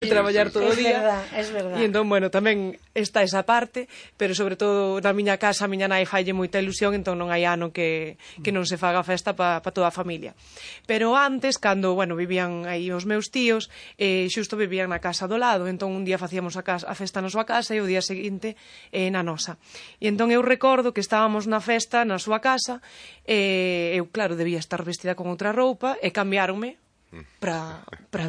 traballar todo o día. Es verdad. E entón, bueno, tamén está esa parte, pero sobre todo na miña casa a miña nai falle moita ilusión, entón non hai ano que non se faga festa pa toda a familia. Pero antes, cando, bueno, vivían aí os meus tíos, xusto vivían na casa do lado, entón un día facíamos a festa na súa casa e o día seguinte na nosa. E entón eu recordo que estábamos na festa na súa casa, eu, claro, debía estar vestida con outra roupa e cambiáronme para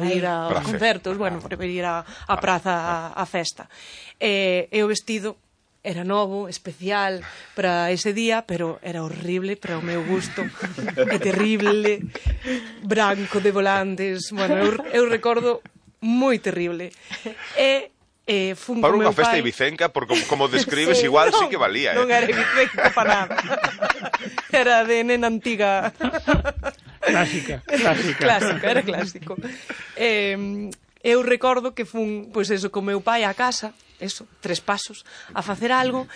ir aos concertos, bueno, para ir a praza a festa. E o vestido era novo, especial para ese día, pero era horrible para o meu gusto. É terrible, branco de volantes, bueno, eu recordo moi terrible. Fun para unha meu festa pai... ibicenca, porque como describes, Sí, igual sí que valía. Non era ibicenca para nada. Era de nena antiga. Clásica, era clásico. Eu recordo que fun, pois eso, con meu pai á casa, eso, 3 pasos, a facer algo,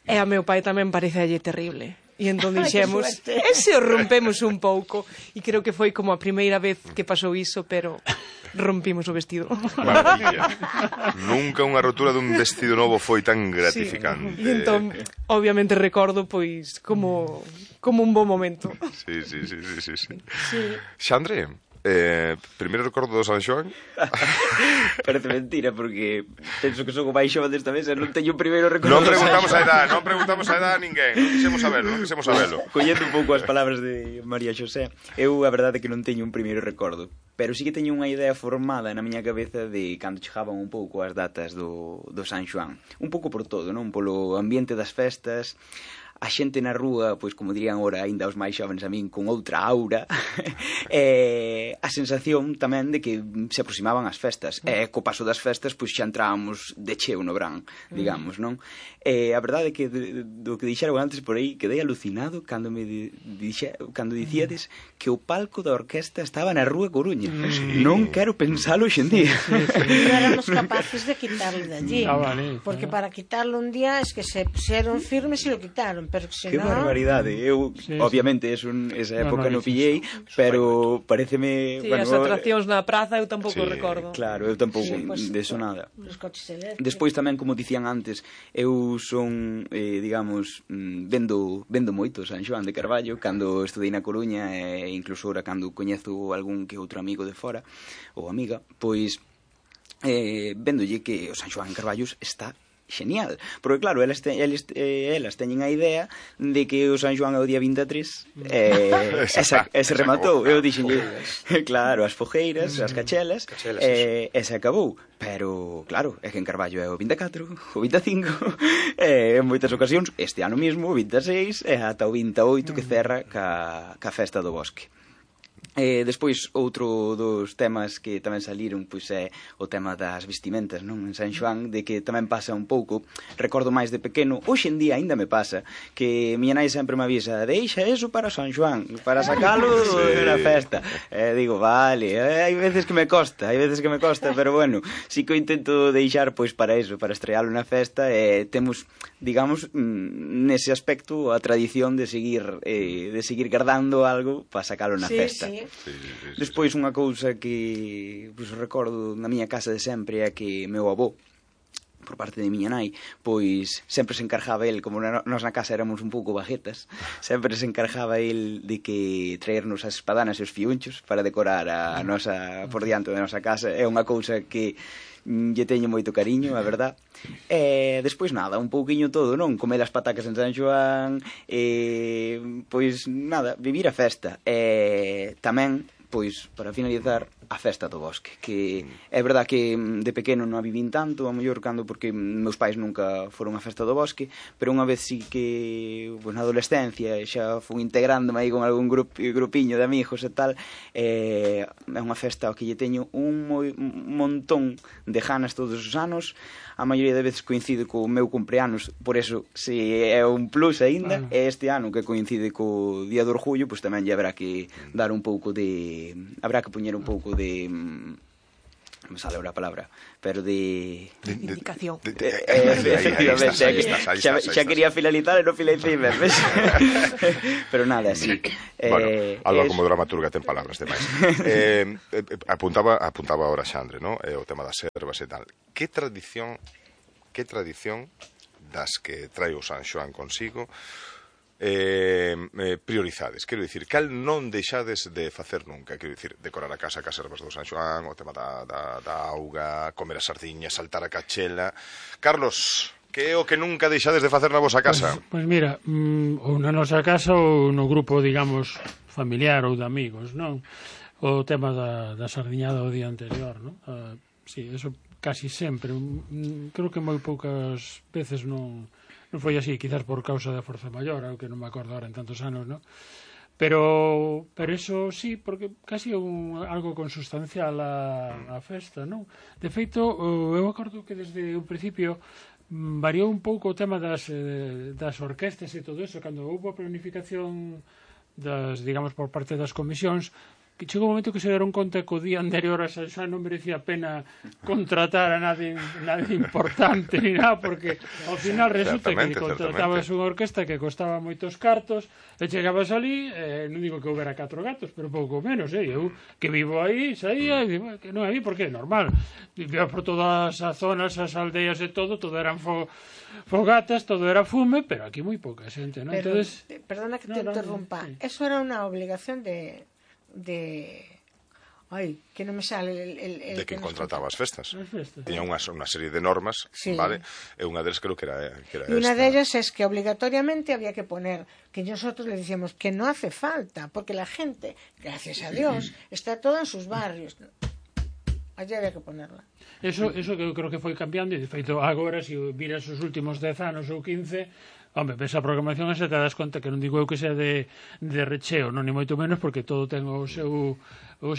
e a meu pai tamén parecelle terrible. E entón dixemos, e se o rompemos un pouco? E creo que foi como a primeira vez que pasou iso, pero rompimos o vestido. Maravilla. Nunca unha rotura dun vestido novo foi tan gratificante. Sí. E entón, obviamente recordo pois como un bo momento. Sí. Xandre, primeiro recordo do San Xoán? Parece mentira, porque penso que son o máis xove desta mesa, non teño o primeiro recordo. Non preguntamos a edad a ninguén, non quixemos saberlo. Collendo un pouco as palabras de María Xosé, eu a verdade é que non teño un primeiro recordo, pero sí que teño unha idea formada na miña cabeza de cando chegaban un pouco as datas do San Xoán. Un pouco por todo, non? Polo ambiente das festas, a xente na rúa, pois como dirían ora aínda os máis xovens a min, con outra aura, a sensación tamén de que se aproximaban as festas, e co paso das festas pois xa entrábamos de cheo no verán, digamos, non? A verdade é que do que dixeron antes por aí quedei alucinado cando dicíades que o palco da orquesta estaba na rúa Coruña. Non quero pensalo hoxe en día. Non éramos capaces de quitarlo de allí, porque para quitarlo un día es que se pusieron firmes e lo quitaron. Pero que que barbaridade. Eu, obviamente, esa época non pillei, pero pareceme... Sí, as atraccións na praza eu tampouco recordo. Claro, eu tampouco, de eso nada. Despois tamén, como dicían antes, eu son, digamos, vendo moito San Xoán de Carballo, cando estudei na Coruña, e incluso ora cando coñezo algún que outro amigo de fora, ou amiga, pois vendolle que o San Xoán en Carballos está genial, porque claro, elas teñen a idea de que o San Xoán é o día 23 e se rematou. Eu dixenlle, claro, as fogueiras, as cachelas, e se acabou. Pero, claro, é que en Carballo é o 24, o 25, en moitas ocasións, este ano mesmo, o 26, e ata o 28 que cerra ca festa do bosque. Despois, outro dos temas que tamén saliron pois é o tema das vestimentas, non? En San Xoán, de que tamén pasa un pouco, recordo máis de pequeno, hoxe en día aínda me pasa, que miña nai sempre me avisa, deixa eso para San Xoán, para sacalo na festa. Digo, vale, hai veces que me costa, pero bueno, si que o intento deixar pois para eso, para estrealo na festa, e temos, digamos, nese aspecto a tradición de seguir guardando algo para sacalo na festa. Sí. Despois unha cousa que pois, recordo na miña casa de sempre é que meu avó, por parte de miña nai, pois sempre se encargaba el, como nós na casa éramos un pouco bajetas, sempre se encargaba el de que traernos as espadanas e os fiunchos para decorar a nosa, por diante da nosa casa. É unha cousa que lle teño moito cariño, a verdad. E despois nada, un pouquiño todo, non? Comer as patacas en San Xoán, pois nada, vivir a festa. E tamén, pois, para finalizar, a festa do bosque, que é verdad que de pequeno non a vivín tanto, a mellor cando porque meus pais nunca foron a festa do bosque, pero unha vez sí que, pois, na adolescencia xa fui integrándome aí con algún grupiño de amigos e tal, é unha festa ao que lle teño un montón de ganas todos os anos. A maioría de veces coincide co meu cumpleanos, por eso se é un plus aínda, e este ano que coincide co Día do Orgullo, pois tamén lle habrá que dar un pouco de... habrá que poñer un pouco de non me sale ahora a palabra, pero de... Indicación. Efectivamente, xa quería finalizar e non finalicei ben, ves? Pero nada, sí. Bueno, Alba como dramaturga ten palabras demais. Apuntaba ahora Xandre, ¿no? O tema das ervas e tal. Que tradición das que trae o San Xoán consigo priorizades? Quero dicir, cal non deixades de facer nunca? Quero dicir, decorar a casa cas ervas do San Xoán, o tema da auga, comer as sardiñas, saltar a cachela. Carlos, que é o que nunca deixades de facer na vosa casa? Pois mira, ou na nosa casa ou no grupo, digamos, familiar ou de amigos, non? O tema da sardiñada o día anterior, non? Sí, eso casi sempre. Creo que moi poucas veces non foi así, quizás por causa da forza maior, que non me acordo ahora en tantos anos, non? Pero eso sí, porque casi é algo consustancial a festa, non? De feito, eu acordo que desde o principio variou un pouco o tema das orquestas e todo eso, cando houve a planificación digamos, por parte das comisións, que chegou un momento que se deron conta que o día anterior a San Xoán non merecía a pena contratar a nadie importante ni nada, porque ao final resulta que contratabas unha orquesta que costaba moitos cartos e chegabas ali, non digo que houbera 4 gatos, pero pouco menos, eu que vivo aí, saía e digo, que non aí, porque é normal, vivía por todas as zonas, as aldeas e todo eran fogatas, todo era fume, pero aquí moi pouca xente, non? Entonces, perdona que te interrumpa, eso era unha obligación de que non me sale de quen contrataba as festas. Tiña unha serie de normas, vale? E unha deles creo que era esta. E unha delas es que obligatoriamente había que poner, que nosotros le decíamos que no hace falta, porque la gente, gracias a Dios, está toda en sus barrios. Allí había que ponerla. Eso que eu creo que foi cambiando, e de feito agora, se viras os últimos 10 anos ou 15, home, ves a programación e se te das conta que non digo eu que sea de recheo, non ni moito menos, porque todo ten o seu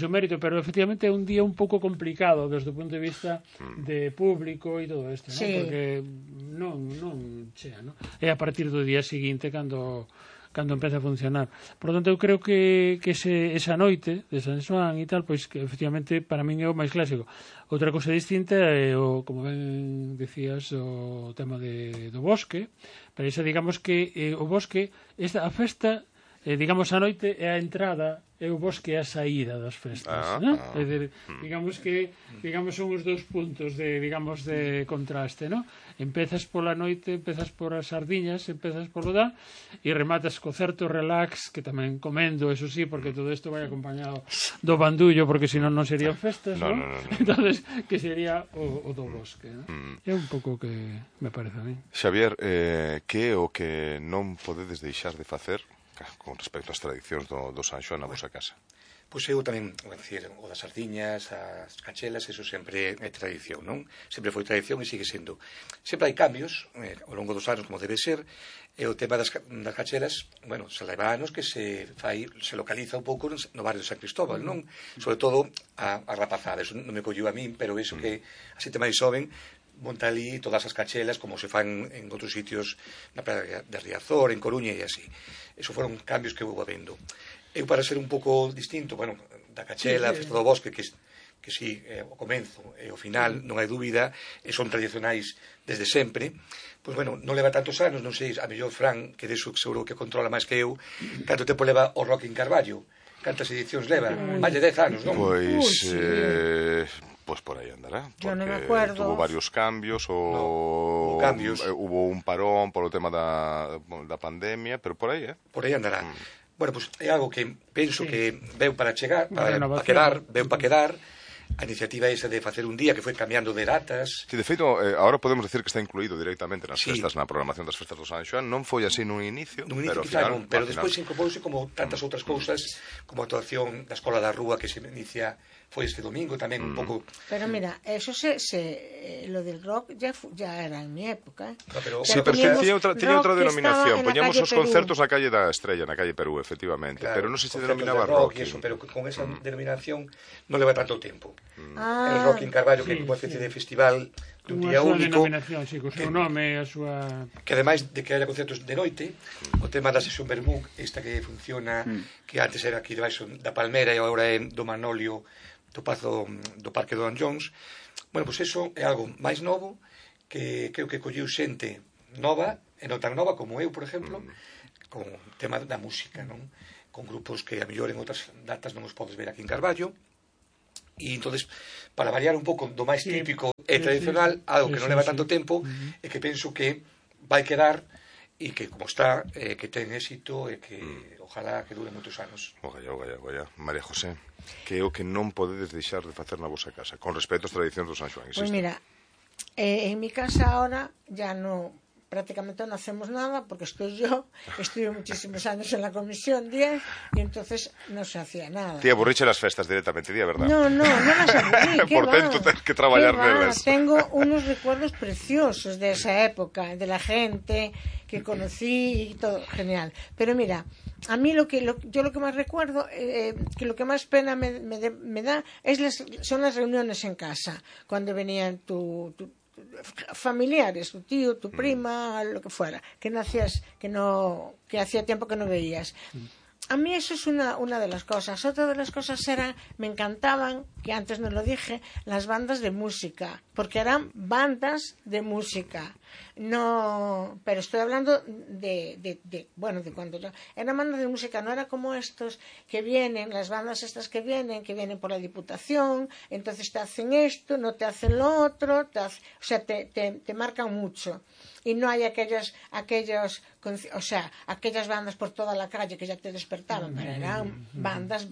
mérito, pero efectivamente é un día un pouco complicado desde o punto de vista de público e todo isto, sí. Porque non chea, non? É a partir do día seguinte cando empeza a funcionar. Por lo tanto, eu creo que esa noite de San Xoán e tal, pois que efectivamente para min é o máis clásico. Outra cousa distinta é como ben decías, o tema do bosque. Pero iso, digamos que o bosque, a festa, digamos a noite é a entrada, e o bosque é a saída das festas, non? É dicir, digamos son os dous puntos de contraste, non? Empezas pola noite, empezas por as sardiñas, empezas por o e rematas co certo relax, que tamén comendo, eso sí, porque todo isto vai acompañado do bandullo, porque senón non serían festas, non? Entonces, que sería o do bosque, non? É un pouco que me parece a mí. Xavier, que é o que non podedes deixar de facer con respecto ás tradicións do San Xoán na vosa casa? Pois eu tamén, o das sardiñas, as cachelas, eso sempre é tradición, non? Sempre foi tradición e sigue sendo. Sempre hai cambios ao longo dos anos, como debe ser, e o tema das cachelas, bueno, se leva anos que se localiza un pouco no barrio de San Cristóbal, non? Sobre todo a rapazada, eso non me colleu a min, pero eso que a xente máis xoven monta ali todas as cachelas como se fan en outros sitios na praia de Riazor, en Coruña e así. Eso foron cambios que houve habendo. Eu, para ser un pouco distinto, bueno, da cachela, a festa do bosque, que sí, o comenzo e o final, non hai dúbida, e son tradicionais desde sempre, pois, bueno, non leva tantos anos, non sei, a mellor Fran, que deso seguro que controla máis que eu, canto tempo leva o Rock in Carballo? Cantas edicións leva? Máis de 10 anos, non? Pois por aí andará, porque no me acuerdo. Tuvo varios cambios, hubo un parón polo tema da pandemia, pero por aí, Por aí andará. Bueno, pois é algo que penso que veu para chegar, veu para quedar. A iniciativa esa de facer un día que foi cambiando de datas. Si, de feito, agora podemos decir que está incluído directamente nas festas, na programación das festas do San Xoán. Non foi así nun inicio, pero despois incorporouse como tantas outras cousas, como a actuación da Escola da Rúa que se inicia foi este domingo tamén un pouco. Pero mira, eso lo del rock ya era en mi época. Sí, pero tiña outra denominación. Poñamos os concertos na calle da Estrella, na calle Perú, efectivamente, pero non se denominaba rock. Pero con esa denominación non leva tanto tempo. El Rock in Carballo, que é unha especie de festival dun día único, co seu nome, a súa... Que ademais de que haya concertos de noite, o tema da sesión Bermú, esta que funciona, que antes era aquí debaixo da Palmera e agora é do Manolio, do Pazo do Parque do Dan Jones. Bueno, pois eso é algo máis novo que creo que colleu xente nova, e non tan nova como eu, por exemplo, con o tema da música, non? Con grupos que a mellor en outras datas non os podes ver aquí en Carballo. E entonces, para variar un pouco do máis típico e tradicional, algo que non leva tanto tempo, e que penso que vai quedar e que como está, que ten éxito e que ojalá que dure moitos anos. Ogalla. María José, que é o que non podedes deixar de facer na vosa casa con respecto ás tradicións do San Xoán? Pues mira, en mi casa ahora ya no, prácticamente no hacemos nada porque estuve muchísimos años en la comisión 10 y entonces no se hacía nada. Tía, aburriche las festas directamente, día, ¿verdad? No las aburrí, ¿qué por va? tanto, tienes que trabajar nelas. Tengo unos recuerdos preciosos de esa época, de la gente que conocí y todo, genial. Pero mira, a mí yo lo que más recuerdo, que lo que más pena me da son las reuniones en casa, cuando venían familiares, tu tío, tu prima, lo que fuera, que hacía tiempo que no veías. A mí eso es una de las cosas. Otra de las cosas me encantaban, que antes no lo dije, las bandas de música, porque eran bandas de música. No, pero estoy hablando de cuando eran bandas de música, no era como estos que vienen, las bandas estas que vienen por la Diputación, entonces te hacen esto, no te hacen lo otro, te marcan mucho. Y no hay aquellas bandas por toda la calle que ya te despertaban, pero eran bandas,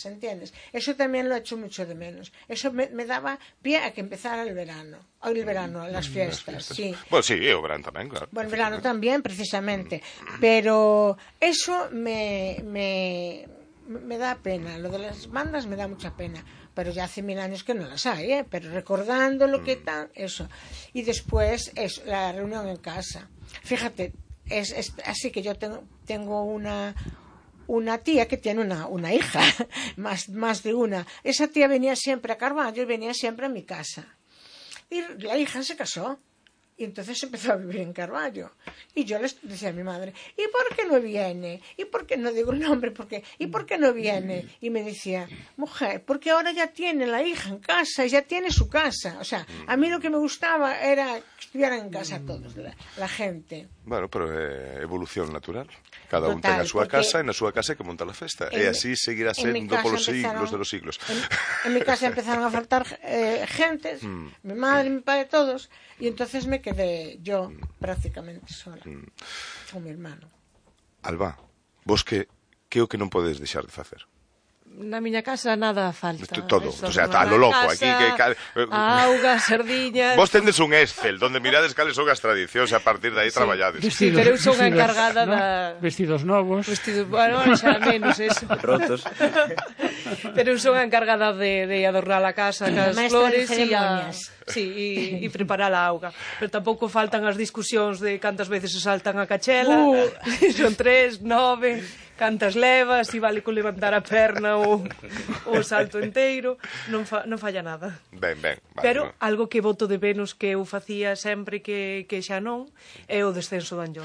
¿entiendes? Eso también lo echo mucho de menos. Eso me daba pie a que empezara el verano, las fiestas, sí. Bueno, sí, o verano tamén, claro. Bueno, el verano también, precisamente. Pero eso me da pena. Lo de las bandas me da mucha pena. Pero ya hace 1000 años que no las hay, ¿eh? Pero recordando lo que tal, eso. Y después la reunión en casa. Fíjate, es así que yo tengo una tía que tiene una hija, más de una. Esa tía venía siempre a Carballo y venía siempre a mi casa. Y la hija se casó. Y entonces empezó a vivir en Carballo. Y yo les decía a mi madre, ¿y por qué no viene? ¿Y por qué no digo el nombre? ¿Y por qué no viene? Y me decía, mujer, porque ahora ya tiene la hija en casa y ya tiene su casa. O sea, a mí lo que me gustaba era que estuvieran en casa todos, la gente. Bueno, pero é evolución natural. Cada un ten a súa casa e na súa casa que monta a festa. E así seguirá sendo polos siglos de los siglos. En mi casa empezaron a faltar gentes, mi madre, mi padre, todos, y entonces me quedé yo prácticamente sola, con mi hermano. Alba, vos que é o que non podes deixar de facer? Na miña casa nada falta. Todo, o sea, a lo loco. Aquí auga, sardiñas. Vos tendes un Excel donde mirades cales son as tradicións e a partir de aí traballades. Sí, pero eu son a encargada vestidos novos. Bueno, xa menos eso. Rotos. Pero eu son a encargada de adornar a casa cas flores e preparar a auga. Pero tampouco faltan as discusións de cantas veces se saltan a cachela. Son 3, 9... cantas levas, si vale con levantar a perna ou o salto inteiro, non falla nada. Ben. Pero algo que boto de menos que eu facía sempre que xa non é o descenso do Anllón.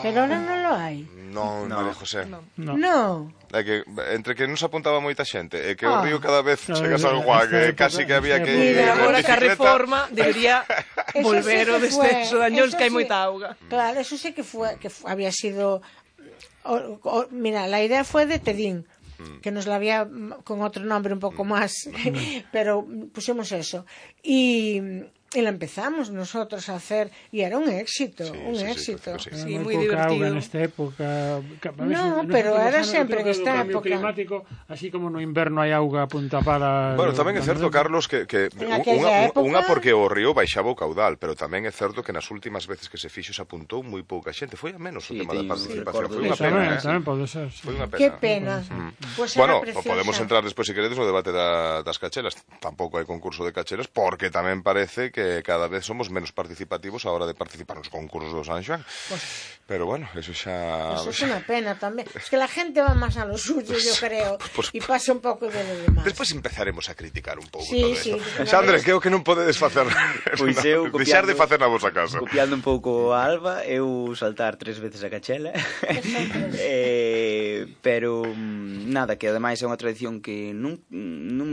Pero ahora non lo hai. Non, María José. No. É que entre que non se apuntaba moita xente e que o río cada vez chega a San Juan, que casi que había que ir en bicicleta. Agora que a reforma debería volver o descenso do Anllón, que hai moita auga. Claro, eso sí que había sido... Mira, la idea fue de Tedín, que nos la había con otro nombre un poco más, pero pusimos eso. Y la empezamos nosotros a hacer y era un éxito, Sí, muy divertido. En esta época, no, pero era sempre en esta época. Climático, así como no inverno hai auga a punta para. Bueno, tamén é certo, Carlos, que unha porque o río baixaba o caudal, pero tamén é certo que nas últimas veces que se fixo se apuntou moi pouca xente, foi a menos o tema da participación, foi unha pena. Tamén pode ser. Foi unha pena. Que pena. Bueno, podemos entrar despois se queredes no debate das cachelas. Tampouco hai concurso de cachelas porque tamén parece que que cada vez somos menos participativos a hora de participar nos concursos do San Xoán. Pero bueno, eso xa... Eso es una pena tamén. Es que la gente va más a lo suyo, yo creo, y pasa un pouco de lo demás. Despois empezaremos a criticar un pouco Sí, todo sí, eso. Xandre, que é o que non podedes facer? Pois eu, Deixar de facer na vosa casa. Copiando un pouco a Alba, eu saltar 3 veces a cachela. Pero nada, que ademais é unha tradición que non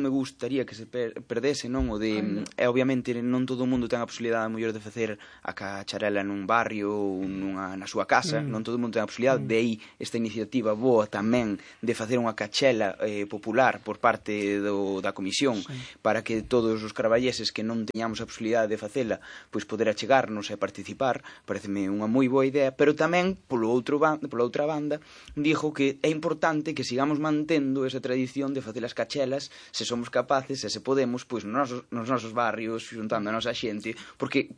me gustaría que se perdese, non? O de, obviamente non todo o mundo ten a posibilidade mellor de facer a cacharela nun barrio ou na súa casa, non todo o mundo ten a posibilidade, de aí esta iniciativa boa tamén de facer unha cachela popular por parte da comisión, para que todos os caraballeses que non teñamos a posibilidade de facela, pois poder achegarnos e participar. Pareceme unha moi boa idea, pero tamén pola outra banda dixo que é importante que sigamos mantendo esa tradición de facer as cachelas, se somos capaces e se podemos, pois nos nosos barrios, xuntando a nosa xente, porque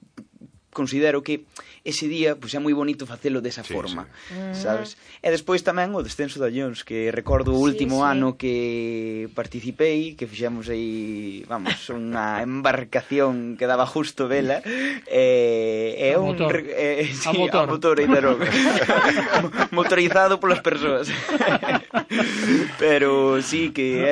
considero que ese día pois é moi bonito facelo desa forma, sabes? E despois tamén o descenso da Llons, que recordo o último ano que participei, que fixemos aí, vamos, unha embarcación que daba justo vela, e a motor motorizado polas persoas. Pero sí que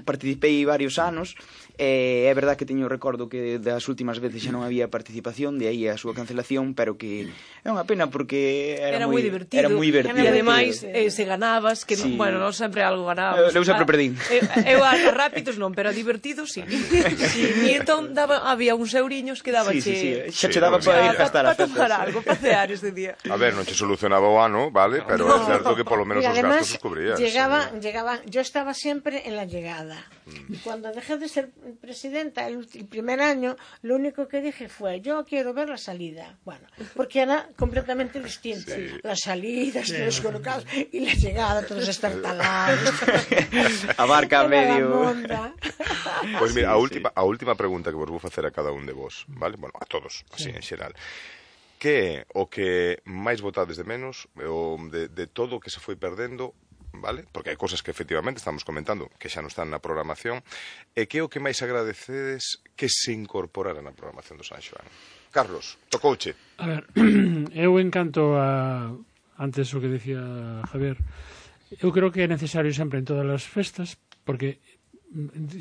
participei varios anos. É verdad que teño recordo que das últimas veces xa non había participación, de aí a súa cancelación, pero que é unha pena porque era moi divertido. Era moi divertido. E ademais, se ganabas, que sí. Bueno, non sempre algo ganábamos. Eu sempre perdín. Eu a rápidos non, pero a divertidos, sí. E entón había uns euriños que daba xa che daba para ir gastar as festas. Para tomar algo, para cear ese día. A ver, non che solucionaba o ano, vale, pero é certo que polo menos os gastos os cubrías. Llegaba, yo estaba siempre en la llegada. Y cuando dejé de ser presidenta el primer año, lo único que dije fue, yo quiero ver la salida. Bueno, porque era completamente distinta. Sí. Las salidas, todos colocados, y la llegada, todos estartalados. A barca a medio. Pois mira, a última pregunta que vos vou facer a cada un de vos, vale? Bueno, a todos, así en xeral. Que é o que máis votades de menos, de todo o que se foi perdendo, vale? Porque hai cousas que efectivamente estamos comentando que xa non están na programación, e que é o que máis agradecedes que se incorporara na programación do San Xoán? Carlos, tocouche. A ver, eu encanto antes o que decía Javier, eu creo que é necesario sempre en todas as festas, porque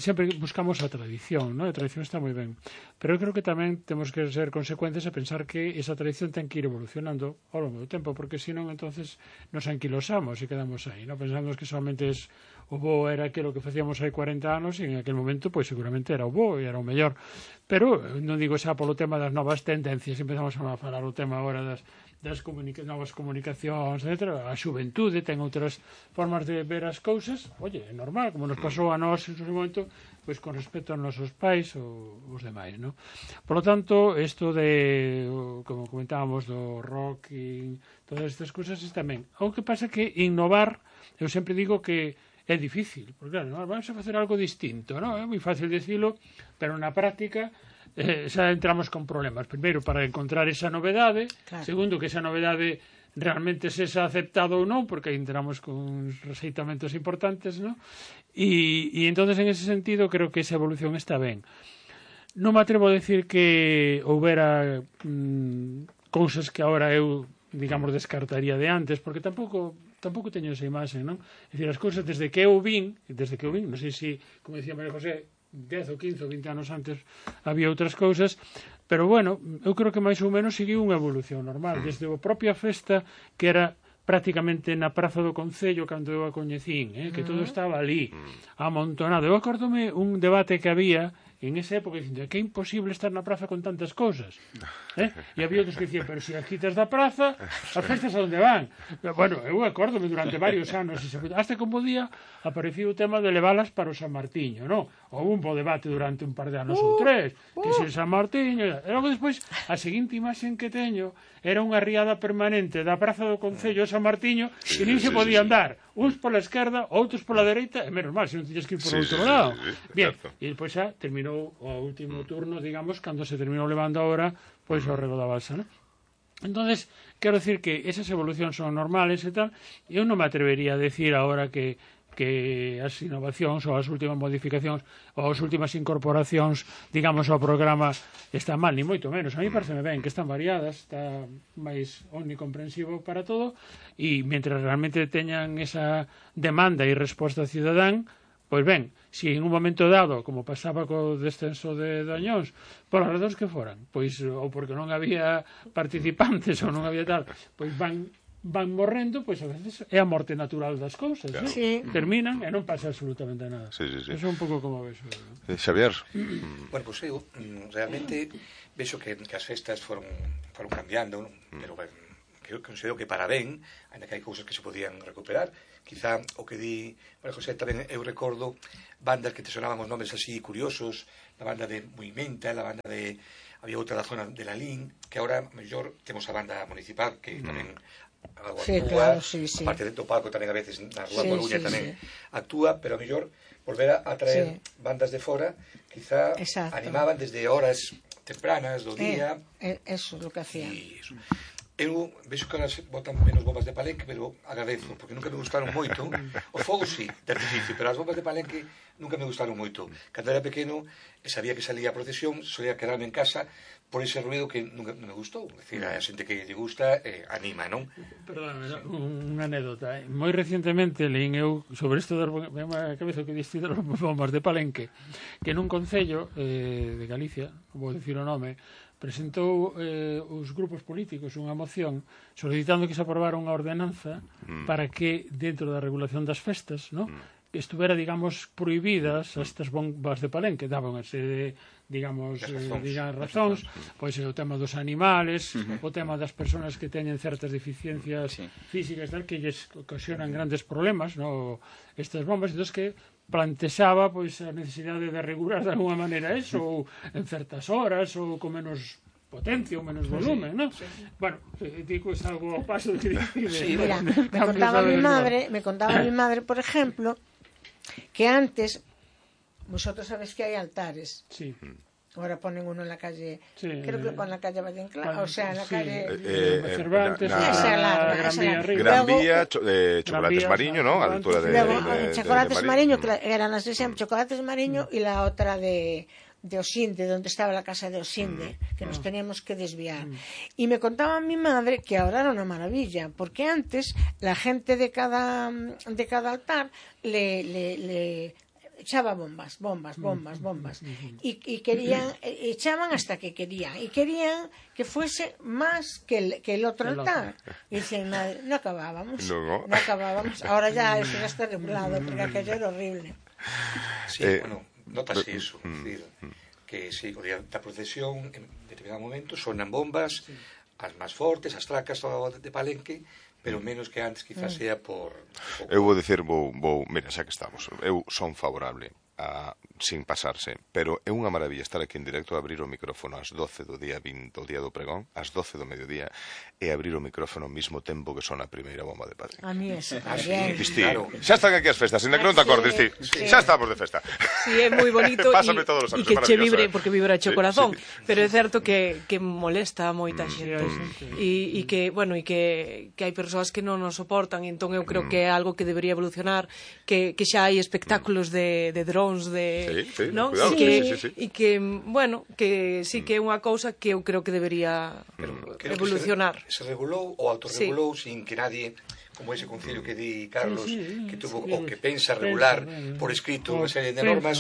sempre buscamos a tradición, ¿no? A tradición está moi ben, pero eu creo que tamén temos que ser consecuentes e pensar que esa tradición ten que ir evolucionando ao longo do tempo, porque senón entonces nos anquilosamos e quedamos aí, ¿no? Pensamos que solamente o bo era aquilo que facíamos hai 40 anos e en aquel momento pois seguramente era o bo e era o mellor, pero non digo xa polo tema das novas tendencias, empezamos a falar o tema agora das novas comunicacións, etc. A xuventude ten outras formas de ver as cousas, oye, é normal, como nos pasou a nós en un momento, pois con respecto aos nosos pais ou os demais, ¿no? Por lo tanto, isto de, como comentábamos, do rock e todas estas cousas tamén. O que pasa que innovar, eu sempre digo que é difícil, porque claro, ¿no? Vamos a facer algo distinto, ¿no? É moi fácil decirlo, pero na práctica xa entramos con problemas. Primeiro, para encontrar esa novedade, claro. Segundo, que esa novedade realmente sexa aceptado ou non, porque entramos con rexeitamentos importantes, ¿no? E entonces en ese sentido creo que esa evolución está ben. Non me atrevo a decir que houbera cousas que agora eu, digamos, descartaría de antes, porque tampouco teño esa imaxe, non? É dicir, as cousas desde que eu vin, non sei se, como decía María José, 10 ou 15 ou 20 anos antes había outras cousas, pero bueno, eu creo que máis ou menos seguiu unha evolución normal, desde a propia festa que era prácticamente na Praza do Concello cando eu a coñecín, que todo estaba ali amontonado. Eu acórdome un debate que había en esa época dicindo que é imposible estar na praza con tantas cousas, e había outros que dicían, pero se as quitas da praza as festas a onde van? Bueno, eu acórdome durante varios anos hasta que un bo día apareceu o tema de leválas para o San Martiño, non? Houve un bo debate durante un par de anos ou tres, que se San Martiño, e logo despois a seguinte imaxen que teño era unha riada permanente da Praza do Concello a San Martiño e nin se podía andar, uns pola esquerda, outros pola dereita, e menos mal, se non tiñas que ir por outro lado. Bien, e despois xa terminou o último turno, digamos, cando se terminou levando ahora, pois o rego da balsa, non? Entonces, quero decir que esas evolucións son normales e tal, eu non me atrevería a decir agora que que as innovacións ou as últimas modificacións ou as últimas incorporacións, digamos, ao programa están mal, ni moito menos. A mí pareceme ben que están variadas, está máis omnicomprensivo para todo, e mentre realmente teñan esa demanda e resposta cidadán, pois ben, se en un momento dado, como pasaba co descenso de Dañóns, polas razóns que foran, pois ou porque non había participantes ou non había tal, pois van morrendo, pois a veces é a morte natural das cousas, claro. Terminan e non pasa absolutamente nada. Eso é un pouco como vexo. Xavier? Bueno, pois eu realmente vexo que as festas foron cambiando, pero que considero que para ben, ainda que hai cousas que se podían recuperar. Quizá o que di María José tamén, eu recordo bandas que te sonaban os nomes así curiosos, a banda de Movimenta, a banda de... había outra da zona de Lalín, que agora mellor temos a banda municipal que tamén actúa, aparte do palco tamén a veces na Rúa Coruña tamén actúa, pero a mellor volver a traer bandas de fora, quizá animaban desde horas tempranas do día. Eso é o que hacían. Eu vexo que elas botan menos bombas de Palenque, pero agradezo, porque nunca me gustaron moito. O fogo sí, de artificio, pero as bombas de Palenque nunca me gustaron moito. Cando era pequeno, e sabía que salía a procesión, solía quedarme en casa por ese ruido que nunca me gustou. É dicir, a xente que lle gusta anima, non? Perdón, unha anécdota. Moi recentemente leín eu sobre isto das cabeza que diste das bombas de Palenque, que nun concello de Galicia, vou dicir o nome, presentou os grupos políticos unha moción solicitando que se aprobara unha ordenanza para que dentro da regulación das festas, ¿no?, estuvera, digamos, prohibidas estas bombas de Palenque. Daban ese de, digamos, razóns, pois o tema dos animales, o tema das persoas que teñen certas deficiencias físicas tal, que lles ocasionan grandes problemas, ¿no?, estas bombas, entón que plantexaba pois a necesidade de regular de alguma maneira eso, ou en certas horas, ou con menos potencia ou menos volumen, ¿no? Bueno, digo, es algo ao paso de mira, me contaba mi madre, por ejemplo, que antes, vosotros sabéis que hai altares. Sí. Ahora ponen uno en la calle, creo que con la calle Valle Inclán, o sea, en la calle Cervantes, Gran Vía, Chocolates Mariño, ¿no? A la altura de Chocolates Mariño, que eran las de siempre, Chocolates Mariño, y la otra de Osinde, donde estaba la casa de Osinde, que nos teníamos que desviar. Y me contaba mi madre que ahora era una maravilla, porque antes la gente de cada altar le echaba bombas, y querían, echaban hasta que querían, y querían que fuese más que el otro altar. Y decían, madre, no acabábamos, ahora ya eso ya está regulado, porque aquello era horrible. Sí, bueno, notase iso, decir, que si o día da procesión en determinado momento sonan bombas, as máis fortes, as tracas de Palenque, pero menos que antes, quizás sea por... Eu vou dicir, mira, xa que estamos, eu son favorable a sin pasarse, pero é unha maravilla estar aquí en directo a abrir o micrófono ás 12 do día 20, o día do pregón, ás 12 do mediodía, e abrir o micrófono ao mesmo tempo que son a primeira bomba de Palenque. A mí eso, claro. Xa están aquí as festas, ainda que non te acordes, xa estamos de festa. Sí, é moi bonito e que che vibre, porque vibra o corazón, pero é certo que molesta a moita xente, e que, bueno, e que hai persoas que non nos soportan, e entón eu creo que é algo que debería evolucionar, que xa hai espectáculos de drones, non? E que, bueno, que sí que é unha cousa que eu creo que debería evolucionar. Se regulou ou autorregulou sin que nadie, como ese concilio que di Carlos, que tuvo o que pensa regular por escrito unha serie de normas,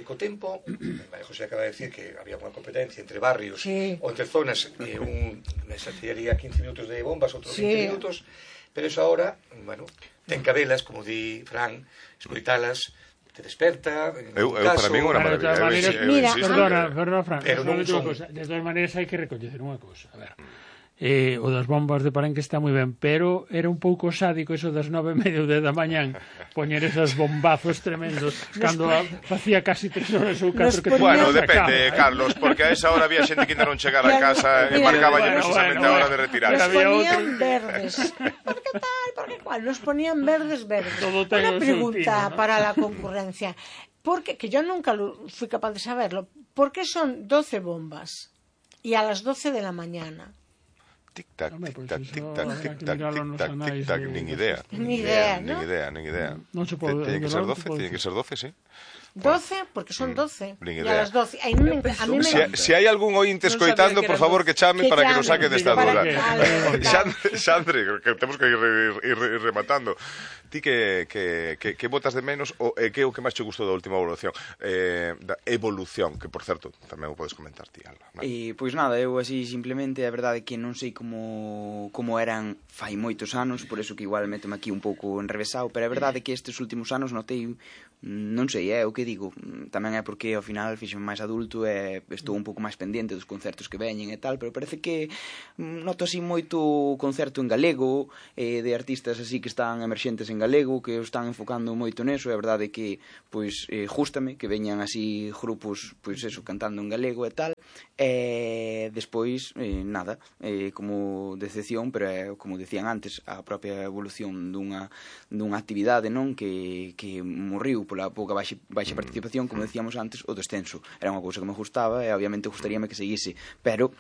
co tempo, María José acaba de decir que había unha competencia entre barrios ou entre zonas, unha saciaría 15 minutos de bombas, outros 20 minutos, pero eso ahora, bueno, ten cabelas, como di Fran, escoitalas, te desperta, para mí é unha maravilla. Perdona, Fran, de todas maneiras hai que recoñecer unha cousa, a ver, o das bombas de Palenque está moi ben, pero era un pouco sádico eso das 9:30 da mañán poñer esas bombazos tremendos cando facía casi 3 horas ou 4 que... Bueno, depende, Carlos, porque a esa hora había xente que ainda non chegara a casa e marcaba precisamente a hora de retirarse. Nos ponían verdes. ¿Por qué tal? ¿Por qué cual? Nos ponían verdes. Una pregunta para la concurrencia. Porque, que yo nunca fui capaz de saberlo, ¿por qué son 12 bombas y a las 12 de la mañana? tic-tac, Pues tic-tac, eso tic-tac, habrá que tic-tac, mirarlo nos tic-tac, anais tic-tac, de- nin idea. Ni idea, Nin ¿no? idea, nin idea. Non se pode- Tiene que ser 12, pode tiene que ser 12, sí. 12, porque son 12. Nin E idea. a las 12. A mí me Si hai algún ointe Non sabía escoitando, que por eran favor, que chame Que para que nos chame, saque desta para duda. que- Xandre, que temos que ir rematando. Ti que botas de menos o que é o que máis che gustou da última evolución? Da evolución, que por certo, tamén o podes comentar ti, Alba. Pois nada, eu así simplemente a verdade é que non sei como eran fai moitos anos, por eso que igual métome aquí un pouco enrevesado, pero a verdade é que estes últimos anos notei, non sei, é o que digo, tamén é porque ao final fixo máis adulto e estou un pouco máis pendente dos concertos que veñen e tal, pero parece que noto así moito concerto en galego, de artistas así que están emerxentes en galego, que o están enfocando moito neso, e a verdade é que pois gústame que veñan así grupos, pois eso, cantando en galego e tal, e despois nada, como decepción, pero como decían antes, a propia evolución dunha actividade, non, que morriu pola pouca baixa participación, como decíamos antes, o descenso era unha cousa que me gustaba e obviamente gustaríame que seguise, pero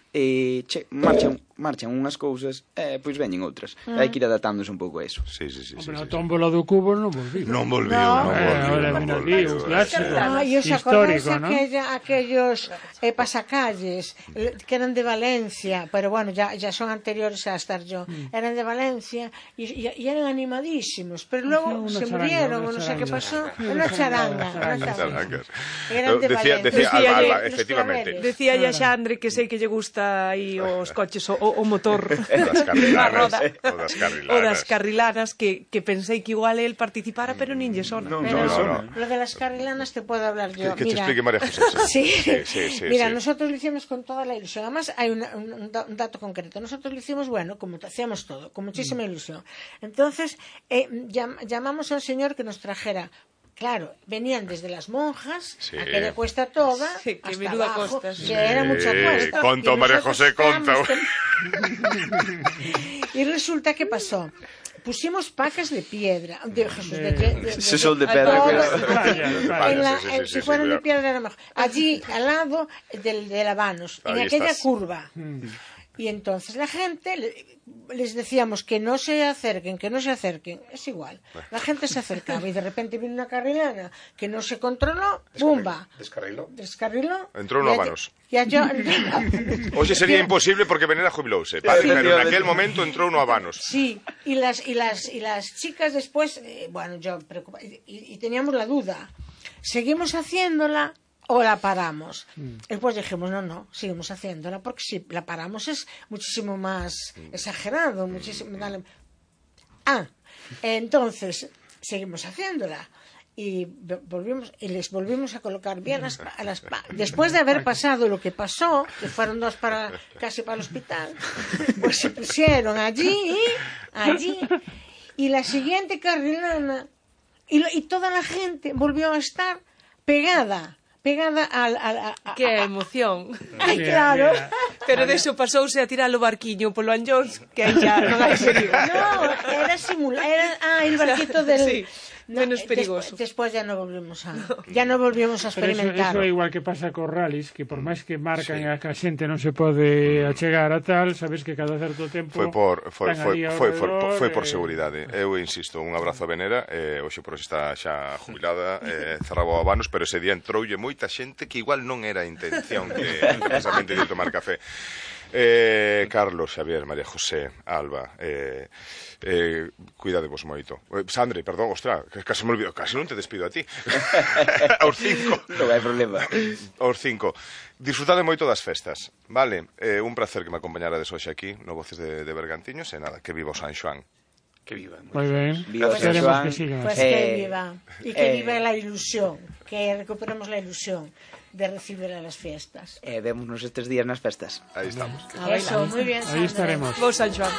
marchan unhas cousas e pois veñen outras, hai que ir adaptándose un pouco a eso. Sí. Hombre, a tómbola do cubo non volviu. Non volviu. Ahora, mira aquí, un clásico E os acordáis histórico, ¿no? aquellos pasacalles que eran de Valencia, pero bueno, ya son anteriores a estar yo, eran de Valencia y eran animadísimos, pero luego se murieron, o no sé qué pasó, una charanga. Eran de Decía Valencia. Alba, efectivamente. Decía ya Xandre que sei que lle gusta aí os coches o motor. O das carrilanas que pensei que igual el participara, pero nin lle sona. No. Lo de las carrilanas te puedo hablar yo. Que te Mira, explique María José. Sí. Mira, sí. nosotros lo hicimos con toda la ilusión. Además, hay un dato concreto. Nosotros lo hicimos, bueno, como hacíamos todo, con muchísima ilusión. Entonces, llamamos a un señor que nos trajera. Claro, venían desde las monjas, Sí. aquella cuesta toda, Sí, que hasta menuda abajo, costa, que sí. era mucha cuesta. Conta, Y María nosotros José, conta. Y resulta que pasó. Pusimos pacas de piedra, de Jesús, Se son de pedra, Sí, si fueran de piedra era mejor. Allí, al lado del Habanos, en Ahí aquella estás. curva. Y entonces la gente, les decíamos que no se acerquen, es igual. La gente se acercaba y de repente vino una carrilana que no se controló, ¡bumba! Descarriló. Entrou no Habanos. Hoxe sería imposible porque Venera jubilouse, vale, pero en aquel momento entrou no Habanos. Sí, y las chicas después, bueno, yo preocupada, y teníamos la duda, ¿seguimos haciéndola o la paramos? Después dijimos, no, seguimos haciéndola, porque si la paramos es muchísimo más exagerado, muchísimo... entonces, seguimos haciéndola. Y les volvimos a colocar bien después de haber pasado lo que pasó, que fueron dos casi para el hospital, pues se pusieron allí, y la siguiente carrilana, y toda la gente volvió a estar pegada al... Que emoción. Ay, claro. Pero de eso pasouse a tirar o barquiño polo Anllóns, que aí xa non hai perigo. No, era el barquito del... Sí. Menos perigoso. Después ya no volvimos a experimentar. Pero eso é igual que pasa cos rallies, que por máis que marcan a que a xente non se pode achegar a tal, sabes que cada certo tempo Foi por seguridade. Eu insisto, un abrazo a Venera, hoxe por hoxe está xa jubilada, cerraba o Habanos, pero ese día entroulle moita xente que igual non era a intención que precisamente de tomar café. Carlos, Xavier, María José, Alba, cuidadevos moito. Sandre, perdón, ostra, casi me olvido, casi non te despido a ti. Aos 5. Non hai problema. Aos 5. Disfrutade moito das festas, vale? Un placer que me acompañarades hoxe aquí no Voces de Bergantiños e nada, que viva o San Xoán. Que viva. Moi ben. Viva Esperemos San Xoán. que siga. Pues que viva. Y que viva la ilusión. Que recuperemos la ilusión de recibir a las fiestas. Vémonos estes días nas festas. Aí estamos. Eso, muy bien, Ahí Sandra. estaremos. Vos, San Xoán.